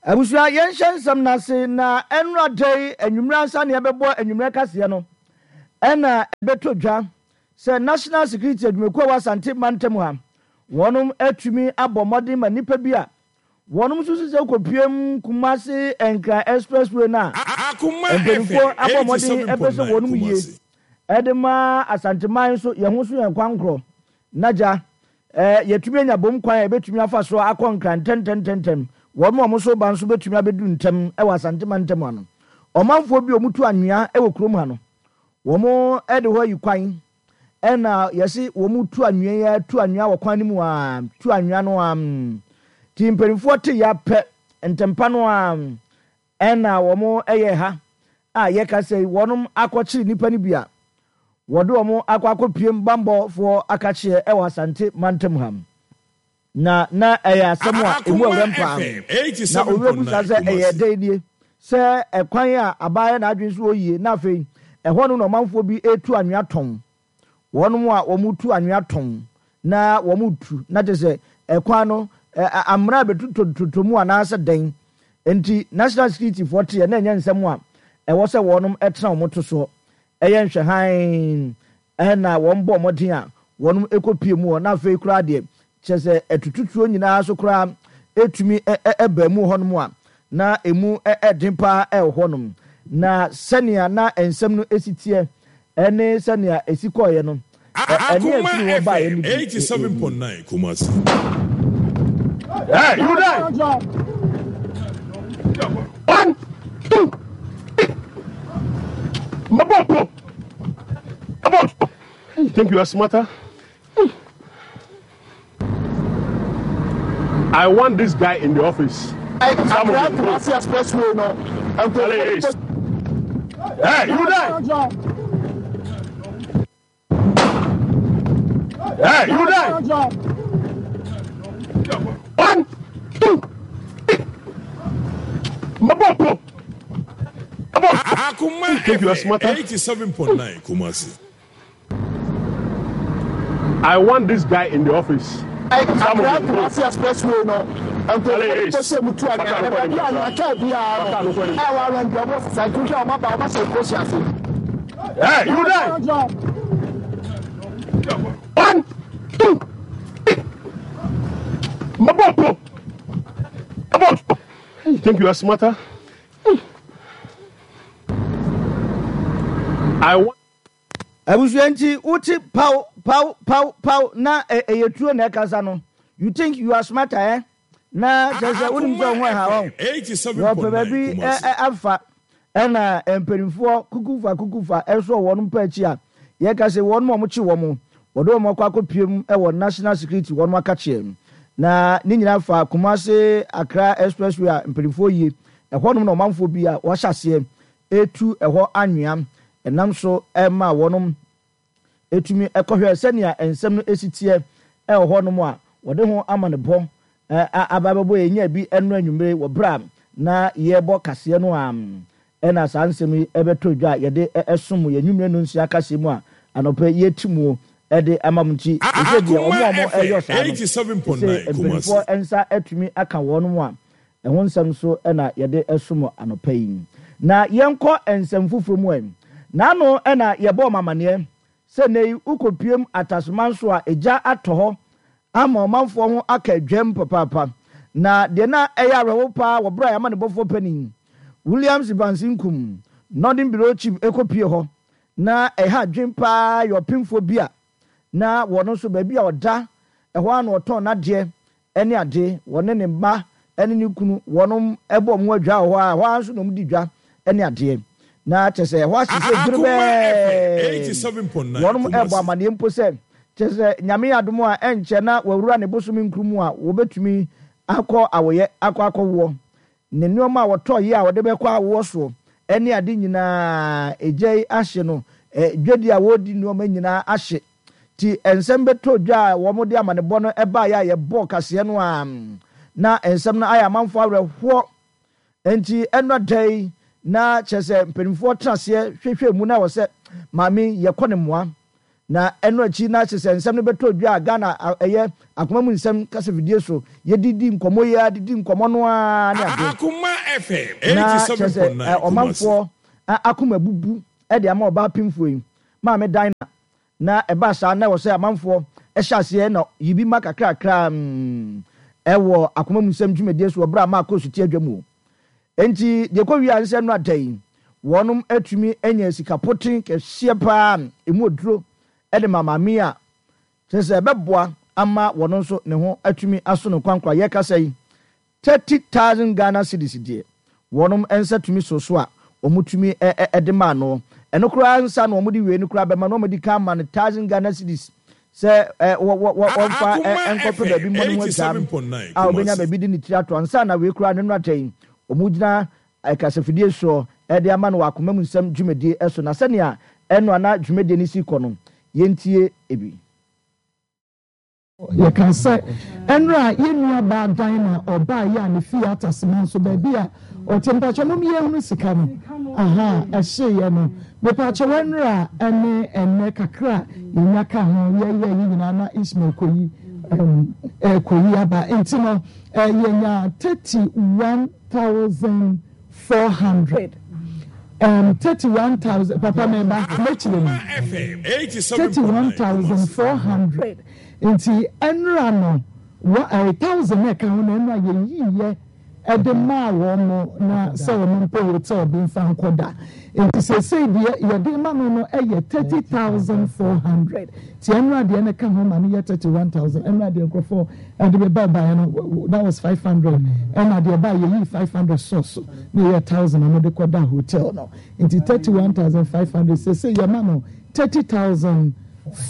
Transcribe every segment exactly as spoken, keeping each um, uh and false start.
Abusua, yɛnhyɛ nsɛm no ase na ɛnora da yi anwummerɛ ansa na yɛbɛbɔ anwummerɛ kaseɛ no, ɛna ɛbɛtɔ dwa sɛ National Security adwumakuo a ɛwɔ Asante mantam ha, wɔnom atumi abɔ mmɔden ma nnipa bi a wɔnom nso sɛ kɔpiem Kumasi Nkran Expressway no a mpanimfoɔ abɔ mmɔden ɛpɛ sɛ wɔnom yie ɛde ma Asanteman nso yɛn ho so yɛn kwankorɔ na gya eh, yɛtumi anya bom kwan a yɛbɛtumi afa so akɔ Nkran ntɛntɛntɛntɛm. Wɔn a wɔn nso ba nso bɛtumi abɛdu ntɛm wɔ Asante mantam ha no. Ɔmanfoɔ bi a wɔtu anwea wɔ kurom ha no, wɔn de hɔ ayi kwan, ɛna yɛse wɔn tu anwea yi tu anwea wɔ kwan no mu a, tu anwea no a, nti mpanimfoɔ te ya pɛ ntɛmpa no a, ɛna wɔn yɛ ha a yɛka sɛ wɔn akɔkyere nnipa no bi a wɔde wɔn akɔ akɔpiem bambɔfoɔ akakyeɛ wɔ Asante mantam ha. Na na ɛyɛ asɛm a emu awuram paa. Na owura busa sɛ ɛyɛ dɛn nie sɛ ɛkwan a abaayɛ n'adwene so wɔ yie, na afei ɛhɔ no na ɔmanfoɔ bi etu anwea tɔn. Wɔn a wɔn tu anwea tɔn na wɔn tu na kyerɛ sɛ ɛkwan no amena bɛtutototo mu anaasɛ dɛn. Nti National Security foɔ teɛ na ɛnyɛ nsɛm a ɛwɔ sɛ wɔn tena wɔn to soɔ. Ɛyɛ nhwɛhan ɛna wɔn bɔ mmɔden a wɔn ekɔpie mu hɔ, na afei koraa deɛ kyerɛ sɛ ɛtututuo nyinaa so koraa etumi ɛbaa mu hɔnom a na emu ɛden paa ɛwɔ hɔnom. Na sɛnea na nsɛm no esi teɛ ɛne sɛnea esi kɔɔeɛ no, ɛne efiri hɔ baeɛ no bi. eighty-seven point nine Kumasi. Hey, you there? One, two, three. Mabo, Mabo. You think you are smarter? I want this guy in the office. Accra Kumasi Expressway no. Hey, you there? Hey, you there? One, two, three. Mabo, Mabo. Akuma You think you are smarter? eighty-seven point nine Kumasi. I want this guy in the office. Accra Kumasi Expressway no. Nkurɔfoɔ bi tu anwea na baabi a anwea kaa biara no ɛwɔ arɛnti ɔmo sisa nkuhwɛ ɔmo aba ɔmo ahyɛ nkosi ase. Hey, you there? One, two, three. Mabo, Mabo. You think you are smarter? I want. Abusua, nti wote paw paw paw paw na ɛyɛ tuo na ɛkasa no. You think you are smarter, eh? Na kyerɛ sɛ wonim sɛ wo ho ɛha wɔn wɔpɛ baabi afa, ɛna mpanimfoɔ kukufa kukufa ɛso wɔn mpa akyi a yɛka sɛ wɔn a wɔkye wɔn wɔde wɔn akɔ akɔpiem wɔ National Security wɔn akakyeɛ. Na ne nyinaa fa Kumase Accra Expressway a mpanimfoɔ yie ɛhɔnom na ɔmanfoɔ bi a wɔahyɛ aseɛ etu ɛhɔ anwea ɛnam so ɛma wɔnom etumi ɛkɔhwɛ sɛnea nsɛm no esi teɛ ɛwɔ hɔnom a wɔde ho ama ne bɔ aba bɛbɔ yɛn nya bi ɛno anwummere wɔ bere a na yɛrebɔ kaseɛ no a ɛna saa nsɛm yi ɛbɛtɔ dwa a yɛde ɛsom yɛn nwummere no nsia kaseɛ mu a anɔpɛ yɛti mu ɛde ama mu. Nti ɛsɛ deɛ ɔmo a ɔmo ɛyɔ saa no sɛ mpanimfoɔ nsa atumi aka wɔn mu a ɛho nsɛm nso ɛna yɛde ɛsom anɔpɛ yi. Na yɛnkɔ nsɛm foforɔ mu ɛ n'ano ɛna yɛbɔ ɔmo amaneɛ sɛ ne yi wokɔpiem Atasoma nso a egya atɔ hɔ ama ɔmanfoɔ ho aka adwam papaapa. Na deɛ na ɛyɛ awerɛho paa wɔ berɛ a yɛama ne bɔfoɔ panin Williams Evans Nkum, Northern Bureau Chief, ɛkɔpie hɔ na ɛha adwen paa yɛ ɔpemfoɔ bi a na wɔno nso baabi a ɔda ɛhɔ a na ɔtɔn n'adeɛ ɛne ade, wɔne ne mma ɛne ne kunu wɔnom ɛbɔ ɔmo adwa wɔ hɔ a ɛhɔ a nso na ɔmo di dwa ɛne adeɛ na kyerɛ sɛ ɛhɔ ahye sɛ dwere bɛɛ. Wɔnom ɛbɔ amaneɛ mpo sɛ kyerɛ sɛ Nyame yɛ adom a ɛnkyɛ na wɔawura ne bosome nkuru mu a wɔbɛtumi akɔ awoyɛ akɔ akɔwoɔ ne nneɛma a wɔtɔ yi a wɔde bɛkɔ awoɔ soɔ ɛne ade nyinaa egya yi ahye no, dwadi a wɔredi nneɛma nyinaa ahye. Ti nsɛm bɛtɔ dwa a wɔn de amanebɔ no ɛbaeɛ a yɛbɔ kaseɛ no a na nsɛm no ayɛ amanfoɔ awerɛhoɔ. Nti ɛnɔ da yi na kyerɛ sɛ mpanimfoɔ tena aseɛ hwehwɛ mu na wɔ sɛ maame yɛkɔ ne mmoa Na ɛno akyi na kyerɛ sɛ nsɛm no bɛtɔ dwa a Ghana ɛyɛ akoma mu nsɛm kasafidie so yɛdidi nkɔmmɔ yi a didi nkɔmmɔ no ara ne ade. Akoma F M Na kyerɛ sɛ eighty-seven point nine Kumasi. Ɔmanfoɔ akoma bubu ɛde ama ɔbaa pimfoɔ yi maame Dinah. Na ɛbaa saa na ɛwɔ sɛ amanfoɔ ɛhyɛ aseɛ na yibi ma kakrakra mm, ɛwɔ akoma mu nsɛm dwumadie so wɔ berɛ a maa kɔɔ so ti adwa mu o. Enti deɛ kɔ wie a nsɛm no ada yi, wɔnom atumi anya sika poten kɛseɛ paa emu oduro ɛde ma maame a kyerɛ sɛ ɛbɛboa ama wɔn nso ne ho atumi aso no kwankwa. Yɛkasa yi, thirty thousand Ghana cedis deɛ wɔnom nsa tumi so so a wɔn tumi ɛde maa no. Ɛno koraa nsa na wɔn de wei no koraa bɛma no, wɔn de ka ama no thousand Ghana cedis sɛ ɛ wɔ wɔ wɔ wɔmfa ɛ nkɔpɛ baabi mmɔ ne ho adwam a obenya baabi de ne tiri ato ansa na wei koraa ne no ata yi wɔn gyina kasafidie soɔ ɛde ama no wɔ akoma mu nsɛm dwumadie ɛso. Na sɛnea ɛno ana dwumadie no si kɔ no, yɛntie ebi. Yɛka sɛ ɛnora yɛn nua baa dan na ɔbaa yi a ne fie atasema nso baabi a ɔte. Mpakyɛ mom yɛhunu sika no aha ɛhyeeɛ no. Mepakyɛ ɛnora ɛne ɛnɛ kakra yɛnya ka ho yɛyɛ yi nyinaa na Ismail kɔyi ɛkɔyi aba nti no yɛnya thirty one thousand four hundred um, thirty one thousand. Papa mɛba mɛkyerɛ mu thirty one thousand four hundred. Nti ɛnura no wa ɛɛ thousand na ɛka ho na ɛnura yɛyi yɛ ɛde maa wɔn mo na sɛ wɔn mpo hotel bi nfa nkɔda. Nti seesei deɛ yɛde ma no no ɛyɛ thirty thousand four hundred. Ti ɛnura deɛ no ka ho ma no yɛ thirty one thousand. Ɛnura deɛ nkurɔfoɔ ɛde bɛ ba baeɛ no, that was five hundred. Ɛna deɛ ba yɛyi five hundred sɔɔso na yɛ thousand a wɔde kɔda hotel no. Nti thirty one thousand five hundred, seesei yɛ ma no thirty thousand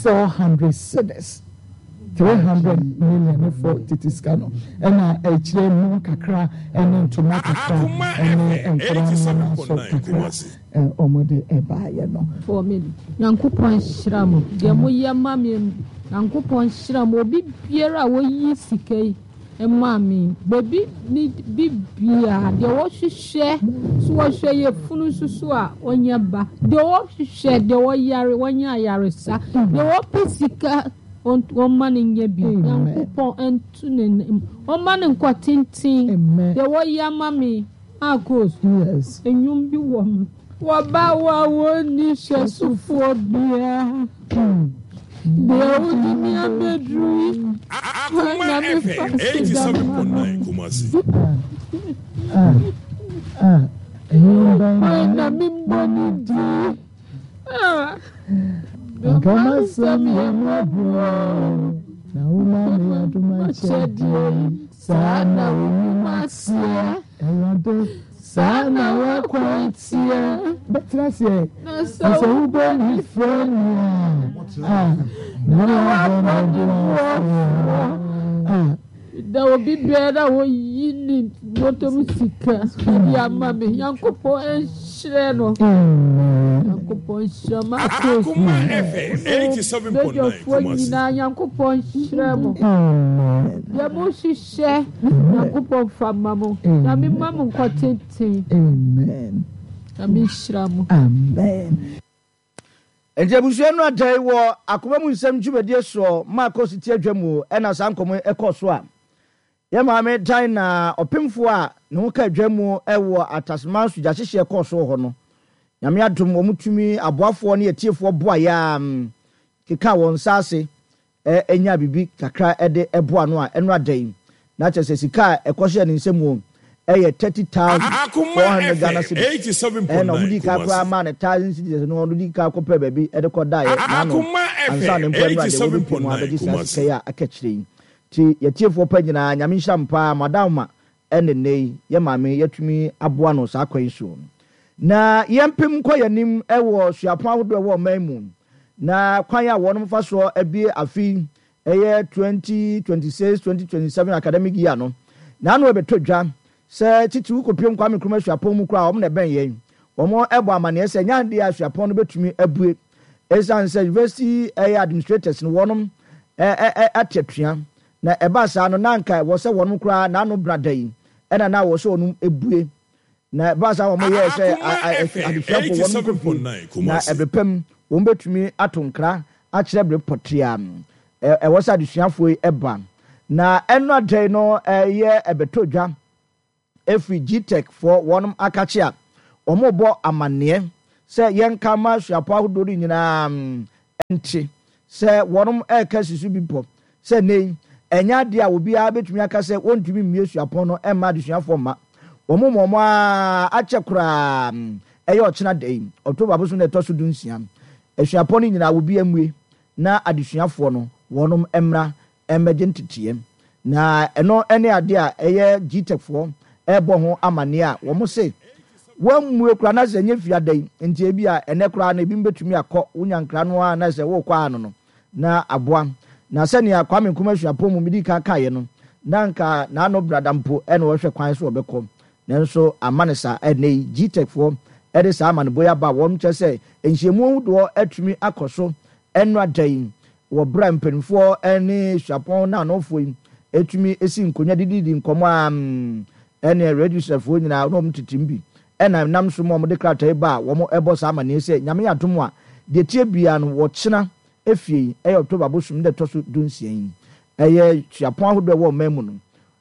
four hundred cedis, three hundred million ne fɔ tete sika no. Ɛna akyire mu kakra ɛne ntoma kakra ɛne nkɔla nneɛma nso kakra ɛ wɔn de ɛbaayɛ no. Fɔ mi, Nyankopɔn nhyira mo deɛ moyɛ ma me. Nyankopɔn nhyira mo, obi biara a wɔyi sika yi maa me beebi ne bi biara deɛ wɔhwehwɛ so wɔhwɛ yɛ funu nso so a wɔnyɛ ba, deɛ wɔhwehwɛ, deɛ wɔyare wɔnyɛ ayaresa, deɛ wɔpɛ sika wɔma no nyɛ bi. Nyankopɔn nto ne wɔma no nkɔ tenten deɛ wɔyɛ ama me. Akos enwom bi wɔ mu wɔba wo a wɔnni hyɛsofoɔ biara deɛ wodi mi abɛduru yi na mefa eighty-seven point nine Kumasi. Na membɔ ne din. Nka masɛm yɛ mmɔborɔ na woma me adom akyɛdeɛ yi. Saa na wo nnwuma teɛ, Awurade, saa na w'akwan teɛ. Bɛtena seɛ na sɛ wobɔ me frɛ me a, na wabɔ me boafoɔ. Da obi biara a wɔyi ne bɔtɔm sika ɛde ama me, Nyankopɔn nhyerɛ no. Nyankopɔn nhyira ma Akoma F M eighty-seven point nine badwafoɔ Kumasi. nyinaa. Nyankopɔn nhyerɛ mo deɛ mohyehyɛ. Nyankopɔn fa ma mo. Nyame ma mo nkɔ tenten. Amen. Nyame nhyira mo. Amen. Nti abusua no ada yi wɔ akoma mu nsɛm dwumadie soɔ maa kɔ so ti adwa mu ɛna saa nkɔmmɔ ɛkɔ so a yɛ maame dan na ɔpemfoɔ a ne ho ka adwa mu ɛwɔ Atasema so gyahyehyeɛ kɔɔ so wɔ hɔ no. Nyame adom, wɔn tumi aboafoɔ ne atiefoɔ boa yɛ a keka wɔn nsa ase ɛnya biribi kakra ɛde ɛboa no a ɛno ada yi na kyerɛ sɛ sika a ɛkɔhyɛ ne nsam wɔ ɛyɛ thirty thousand four hundred Ghana cedis. Ɛna wɔn di ka koraa maa ne thousand cedis no, wɔn di ka kɔpɛ baabi ɛde kɔ da yɛ n'ano ansa ne mpo ɛno ade wɔn bi mu abɛgye saa sika yi a aka kyerɛ yi. Ti yɛtiefoɔ pa nyinaa, Nyame nhyira mpaa madam ma ɛne nne yi yɛ maame yɛtumi aboa no saa kwan yi so. Na yɛmpem nkɔ yɛn ɛwɔ suapɔn ahodoɔ ɛwɔ ɔman mu na kwan a wɔn fa soɔ abie afi ɛyɛ twenty twenty six twenty twenty seven academic year no n'ano ɛbɛtɔ dwa sɛ titiriw kɔpiem Kwame Nkrumah Suapɔn mu koraa, wɔn na ɛbɛn yɛn, wɔn ɛbɔ amaneɛ sɛ nyɛ adeɛ a suapɔn no bɛtumi abue ɛsiane sɛ university ɛyɛ administrators no wɔnom ɛ ɛ ate atua. Na ɛbaa saa no, na anka wɔ sɛ wɔnom koraa n'ano brada yi ɛna na wɔ sɛ wɔnom ebue. Na ɛbaa saa wɔn yɛɛ sɛ adesuafoɔ wɔnom kɔ fie na ɛbɛpɛm wɔn bɛtumi ato nkra. akyerɛ bere pɔtee a ɛwɔ sɛ adesuafoɔ yi ba. Na ɛno adɛn no ɛyɛ ɛbɛtɔ dwa ɛfiri G T E C foɔ wɔnom akakye a wɔn amanneɛ sɛ yɛnka ma suapɔ ahodoɔ no nyinaa nte sɛ wɔnom ɛreka si so bi pɔ sɛ nne yi ɛnyɛ adeɛ a obiara bɛtumi aka sɛ wɔntumi mmie suapɔn no ɛmma adesuafoɔ mma. Wɔn mu wɔn a akyɛ koraa ɛyɛ ɔkyena da yi, October bosom na ɛtɔ so du nsia, asuapɔn no nyinaa obi amue na adesuafoɔ no wɔnom mmra mmɛgye nteteɛ. Na ɛno ne adeɛ a ɛyɛ G T E C foɔ ɛrebɔ ho amanneɛ a wɔn se wɔmmue koraa na sɛ ɛnyɛ fiada yi nti, ebi a ɛnɛ koraa no ebi mbɛtumi akɔ wonya nkra no a na sɛ wɔrekɔ ano no na aboa. Na sɛnea Kwame Nkrumah Suapɔn mu medi kan kaeɛ no, na nka n'ano brada mpo ɛna wɔhwɛ kwan so wɔbɛkɔ, nanso ama ne saa. Ɛnɛ yi G T E C foɔ ɛde saa amanebɔ yi aba a wɔn kyerɛ sɛ nhyiamu ahodoɔ atumi akɔ so ɛno ada yi wɔ berɛ a mpanimfoɔ ne suapɔn na anofoɔ yi etumi esi nkonnwa dididi nkɔmɔ a ɛne registrarfoɔ nyinaa na wɔn tete bi ɛna nam so ma wɔde krataa yi ba a wɔn ɛbɔ saa amanneɛ sɛ Nyame adom a, deɛ tie bia no wɔkyena efie yi, ɛyɛ October bosom de ɛtɔ so dunsia yi, ɛyɛ suapɔn ahodoɔ ɛwɔ ɔman mu no,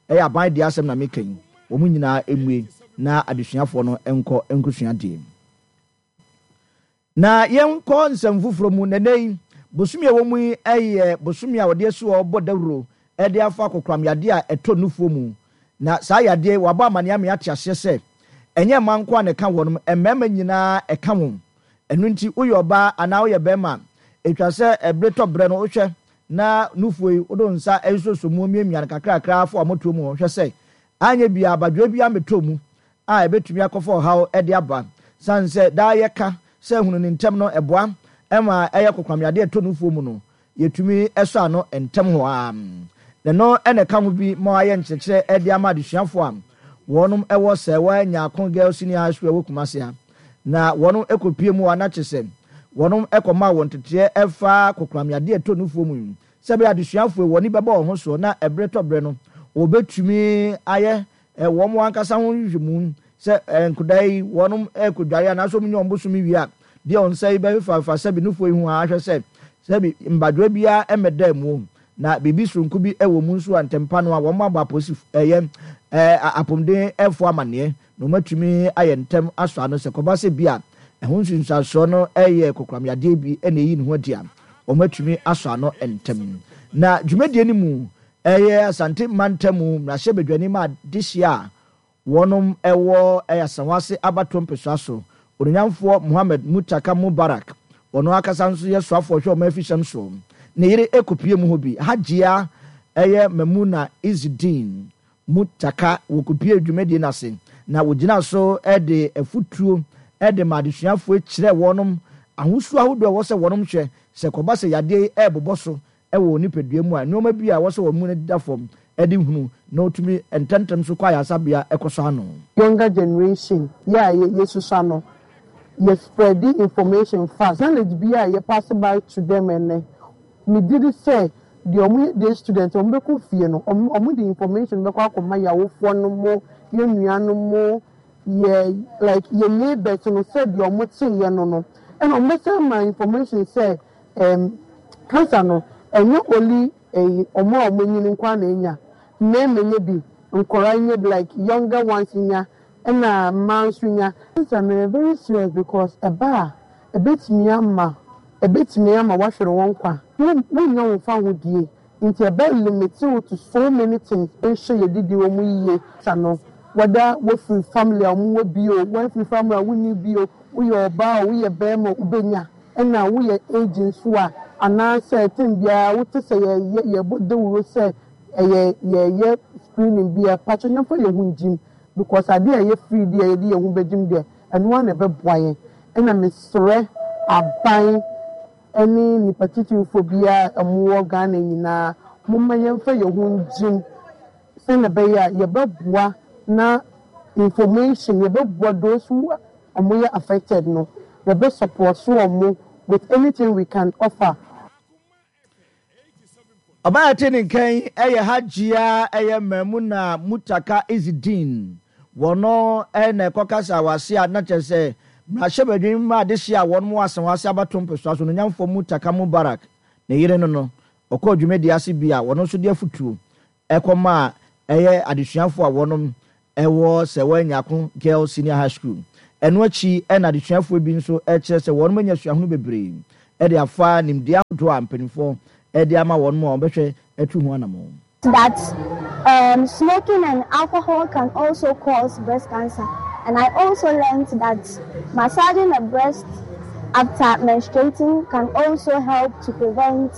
ɛyɛ aban deɛ asɛm na meka yi, wɔn nyinaa emue na adesuafoɔ no nkɔ nkosua deɛ. Na yɛnkɔ nsɛm foforɔ mu. Nɛnɛ yi bosomi a ɛwɔ mu yi ɛyɛ bosomi a wɔde asi hɔ bɔ dawuro ɛde afa kokoram yadeɛ a ɛtɔ nufoɔ mu. Na saa yadeɛ wabɔ amaneɛ ama ate aseɛ sɛ ɛnyɛ mmaa nko a na ɛka wɔn, mmarima nyinaa ɛka wɔn. Ɛno nti woyɛ ɔbaa anaa woyɛ bɛrima, ɛtwa sɛ ɛbere tɔ berɛ no wohwɛ na nufoɔ yi wode nsa nsoso mu miamia no kakrakra afɔ amotoɔ mu hwɛ sɛ anyɛ bia abadwoa bi amɛtɔ mu a ɛbɛtumi akɔfa ɔhaw ɛde aba. San sɛ daa yɛka sɛ hunu ne ntɛm no ɛboa ɛma ɛyɛ kokoramyadeɛ ɛtɔ nufoɔ mu no yɛtumi ɛsɔ ano ntɛm hɔ a. Ɛno ɛna ɛka ho bi ma ayɛ nkyerɛkyerɛ ɛde ama adesuafoɔ a wɔnom ɛwɔ sɛ wɔanya Girls Senior High School ɛwɔ Kumase ha, na wɔnom ɛkɔpie mu a na kyerɛ sɛ wɔnom ɛkɔma wɔn teteɛ ɛfa kokoramyadeɛ ɛtɔ nufoɔ mu yi sɛ bɛyɛ adesuafoɔ wɔn ani bɛbɔ wɔn ho soɔ na ɛberɛ tɔ berɛ no wɔbɛtumi ayɛ wɔn ankasa ho nhwehwɛmu sɛ nkodaa yi wɔnom ɛkɔdware anaasɛ wɔn nyɛ wɔn bosom wie a, deɛ wɔn nsa yi bɛfefafa sɛbi nufoɔ yi ho a, ahwɛ sɛ sɛbi mbadwoa biara ɛmɛda mu na biribi soronko bi ɛwɔ mu nso a, ntɛmpa no a wɔn abɔ apolisi ɛyɛ ɛɛ apɔmuden ɛfo amaneɛ na wɔn atumi ayɛ ntɛm asɔ ano sɛ kɔba sɛ bi a ɛho nsunsuansoɔ no ɛyɛ kokoramyadeɛ bi ɛna eyi ne ho adi a, wɔn atumi asɔ ano ntɛm. Na dwumadie no mu ɛyɛ Asante mantam mmarahyɛbadwani ma adehyia a wɔnom ɛwɔ ɛyɛ Asawase abatoɔ mpɛsoa so, Ononyamfoɔ Muhammed Mutaka Mubarak, ɔno akasa nso yɛ soafoɔ hwɛ ɔman afihyɛm so, ne yere ekopie mu hɔ bi, Hajiya ɛyɛ Mamuna Izidin Mutaka, wɔkopie dwumadie no ase na wɔgyina so ɛde afutuo ɛde ma adesuafoɔ kyerɛ wɔnom ahosuo ahodoɔ a ɛwɔ sɛ wɔnom hwɛ sɛ kɔba sɛ yadeɛ yi ɛrebobɔ so ɛwɔ nipadua mu a, nneɛma bi a ɛwɔ sɛ wɔn mu no da fam ɛde hunu na wɔtumi ntɛmtɛm so kɔ ayaresabea ɛkɔ so ano. Younger generation yɛ a yɛsusua no, yɛ spread information fast. Knowledge bi a yɛ pass by to them, ɛnɛ megye di sɛ deɛ ɔmo yɛ day student, ɔmo bɛkɔ fie no, ɔmo ɔmo de information bɛkɔ akɔma yɛ awofoɔ no mo, yɛ nuanom mo, yɛ like yɛ neighbors no, sɛ deɛ ɔmo te yɛ no no ɛna ɔmo bɛsɛ ama information sɛ ɛɛm cancer no ɛnyɛ only ɛyi ɔmo a ɔmo anyini nko na enya. Mmarima nya bi, nkɔraa nya bi, like younger ones nya, ɛna mmaa nso nya. Cancer no yɛ very serious because ɛba a, ɛbɛtumi ama ɛbɛtumi ama wahwere wɔn kwa, wonya wɔn fa ahodie, nti ɛbɛ limit wo to so many things. Nhyɛ yɛ didi wɔn yie sa no, whether wofiri family a wɔn wɔ bi o, wɔafiri family a wonni bi o, woyɛ ɔbaa o, woyɛ bɛrima o, wobɛnya. Ɛna woyɛ age nso a, anaasɛ tem biara wote sɛ yɛyɛ yɛbɔ dawuro sɛ ɛyɛ yɛyɛ screening bi a, patro yɛmfa yɛn ho ngyim, because adeɛ a ɛyɛ free deɛ, yɛde yɛn ho bɛgyim deɛ, ɛno ara na ɛbɛboa yɛn. Ɛna mesrɛ aban ɛne nipa titirifoɔ biara a wɔwɔ Ghana nyinaa, momma yɛmfa yɛn ho ngyim sɛnea ɛbɛyɛ a yɛbɛboa na information yɛbɛboa those who wɔyɛ affected no, yɛbɛ support wɔn with anything we can offer. Ɔbaa te ne nkan ɛyɛ Hajiya ɛyɛ Mamuna Mutaka Izidin. Wɔno ɛna ɛkɔkasa wase a na kyerɛ sɛ mmarahyɛbadwin ma adehye a wɔn mu Asawase abato mpɛsoa so no nyamfoɔ Mutaka Mubarak. Ne yere no no, ɔkɔɔ dwumadie ase bi a wɔno nso de afotuo kɔmaa ɛyɛ adesuafoɔ a wɔnom wɔ Sewaa Nyarko Girls Senior High School. Ɛno akyi na adesuafoɔ bi nso kyerɛ sɛ wɔnom anya suahunu bebree de afa nimdeɛ ahodoɔ a mpanimfoɔ de ama wɔnom a wɔbɛhwɛ atu ho anamɔn. That um smoking and alcohol can also cause breast cancer and I also learnt that massaging the breast after menstruating can also help to prevent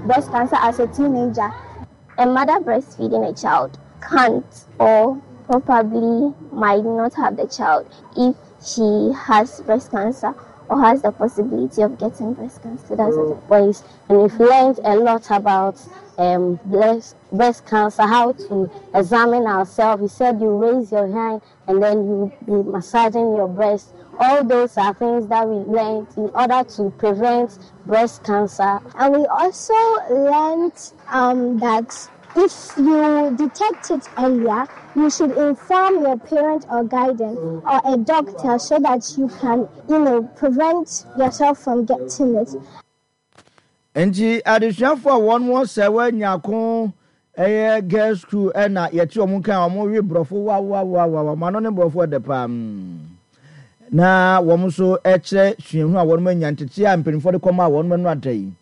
breast cancer as a teenager. A mother breastfeeding a child can't or probably might not have the child if she has breast cancer or has the possibility of getting breast cancer. That's it. Boys, and we've learned a lot about um, breast, breast cancer, how to examine ourselves. He said you raise your hand and then you be massaging your breast. All those are things that we learned in order to prevent breast cancer. And we also learned um, that if you detect it earlier, you should inform your parent or guardian or a doctor so that you can, you know, prevent yourself from getting it. Enti adesuafo a wɔn wɔ sɛ wɔanya ko ɛyɛ girls school ɛna yɛte wɔn nka a wɔn we borɔfo wawawawa wɔn ano ne borɔfo ɛdɛ paa na wɔn nso ɛkyerɛ suahunu a wɔn anya ntete a mpanimfoɔ de kɔma a wɔn ano ada yi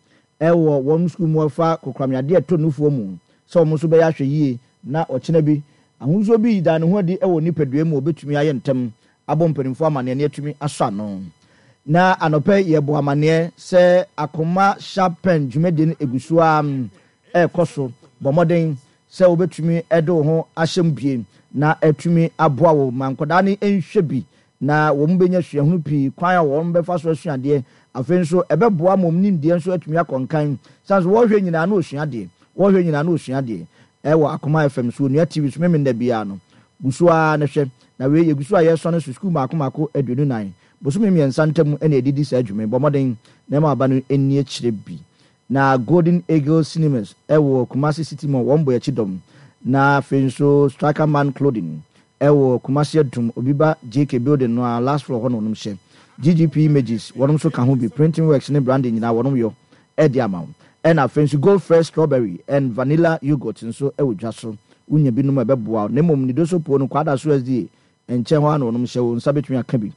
ɛwɔ wɔn sukuu mu ɛfa kokoramyadeɛ ɛtɔ nufoɔ mu sɛ wɔn nso bɛyɛ ahwɛ yie na ɔkyena bi ahosuo bi da ne ho adi wɔ nipadua mu a obetumi ayɛ ntɛm abɔ mpanimfoɔ amanneɛ ne atumi asɔ ano. Na anɔpɛ yɛbɔ amanneɛ sɛ Akoma Sharp Pen dwumadie no egu so ara ɛrekɔ so. Bɔ mmɔden sɛ wobɛtumi de wo ho ahyɛ mu bie na atumi aboa wo ma nkwadaa no nhwɛ bi na wɔn bɛnya suahunu pii kwan a wɔn bɛfa so asua adeɛ. Afei nso ɛbɛboa ma wɔn nimdeɛ nso atumi akɔ nkan. Sane so wɔrehwɛ nyinaa na wɔsua adeɛ. Wɔrehwɛ nyinaa na wɔsua adeɛ ɛwɔ Akoma F M so, Onua T V so Memenda biara no. Gu so ara na hwɛ. Na wei yɛgu so a yɛresɔne so sukuu mmaako mmaako aduonu nan. Bosome mmiɛnsa ntam na yɛde di saa dwuma yi. Bɔ mmɔden na ɛma aba no nni akyire bi. Na Golden Eagle Cinemas ɛwɔ Kumasi City Mall, wɔn bɔ akyi dɔm. Na afei nso Striker Man Clothing ɛwɔ Kumasi Adum, Obi Ba J K Building no a last floor hɔ na wɔnom hyɛ. G G P Images wɔnom nso ka ho bi. Printing Works ne branding nyinaa wɔnom yɔ ɛde ama wo. Ɛna afei nso Gold Fresh Strawberry and Vanilla Yogurt nso ɛwɔ dwa so. Wonya binom a ɛbɛboa wo. Na mmom Nidoso po no Kwada so S D A nkyɛn hɔ a na wɔnom hyɛ, wo nsa bɛtumi aka bi.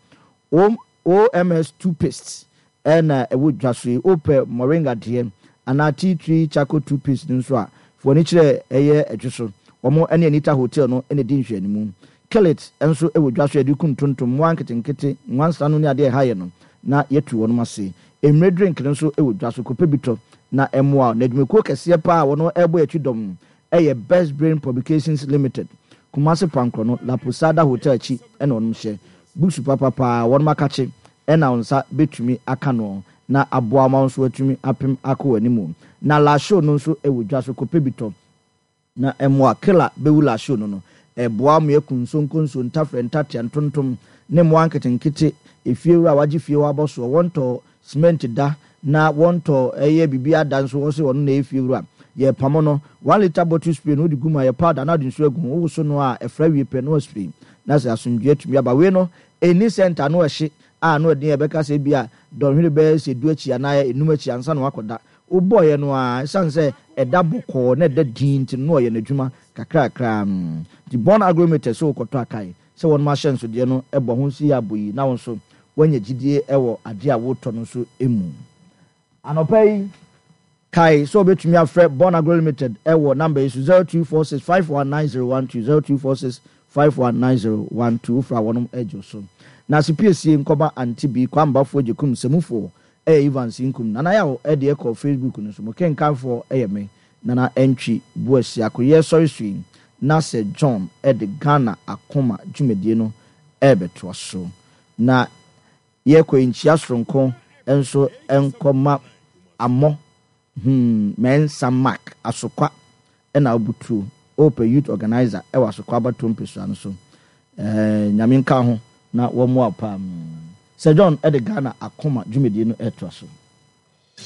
O M S toothpaste ɛna ɛwɔ dwa so yi. Wopɛ moringa deɛ anaa tea tree charcoal toothpaste no nso a, fo ani kyerɛ ɛyɛ ɛdwo so. Wɔn ne Anita Hotel no na ɛdi nhwɛanimu. Kellet nso ɛwɔ dwa so a yɛde kum ntontom, mmoa nketenkete, nwansena no ne adeɛ a ɛha yɛ no na yɛatu wɔn ase. Emire drink no nso ɛwɔ dwa so, kɔpɛ bi tɔ na ɛmmoa wo. Na adwumakuo kɛseɛ paa a wɔn ɛrebɔ akyi dɔm ɛyɛ Best Brain Publications Limited. Kumasi Pankro no, La Posada Hotel akyi ɛna wɔn hyɛ. Books papapaa wɔn akakye ɛna wɔn nsa bɛtumi aka no na aboa ma wɔn nso atumi apem akɔ wɔn anim. Na La Show no nso ɛwɔ dwa so, kɔpɛ bi tɔ na ɛmmoa. Killer bɛwu La Show no no, ɛboa ma yɛku nsonkonso, ntafrɛ, ntatea, ntontom ne mmoa nketenkete. Efiewura a wagye fie hɔ abɔ soɔ, wɔntɔ cement da na wɔntɔ ɛyɛ biribi ada nso wɔ sɛ ɔno na ɛyɛ fiewura. Yɛpamo no, one litre bottle spray no wode gu mu a yɛ powder na wode nsuo agu ho, wowoso no a ɛfra wie pɛ na waspray na sɛ asomdwoeɛ atumi aba. Wei no, ɛnni scent a na ɔhye a na ɔden a ɛbɛka sɛ bi a dɔnhwere bɛyɛ sɛ du akyi anaa enum akyi ansa na wakɔda. Wobɔeɛ no a, ɛsiane sɛ ɛda bɔkɔɔ na ɛda din nti no na ɔyɛ n'adwuma kakrakra. Nti Born Agrometer sɛ wokɔtɔ akae sɛ wɔnom ahyɛnsodeɛ no ɛbɔ ho nso yɛ abɔ yi na wo nso woanya gyidie ɛwɔ adeɛ a wotɔ no nso mu. Anɔpa yi, kae sɛ wobɛtumi afrɛ Born Agro Limited ɛwɔ number yi so zero two four six five one nine zero one two, zero two four six five one nine zero one two. Wofra wɔnom agye so. Na asepiesie nkɔma Auntie B, Kwambafoɔ Gyekum, Sɛmufoɔ ɛyɛ Evans Nkum. Nana Yaw ɛde ɛkɔ Facebook no so. Mo kenkanfoɔ ɛyɛ me, Nana Entwi Buasi. Akoyɛ sɔre so yi, na sɛ John ɛde Ghana Akoma dwumadie no ɛbɛtoa so. Na yɛkɔ nkyia soronko nso nkɔma Amɔ, hmm, Mensah Mark Asokwa ɛna Obutuo, Ope Youth Organizer ɛwɔ Asokwa Abatoɔ mpesua no so. Eh, Nyame nka ho na wɔmmoa paa. Sir John ɛde Ghana Akoma dwumadie no ɛtoa so.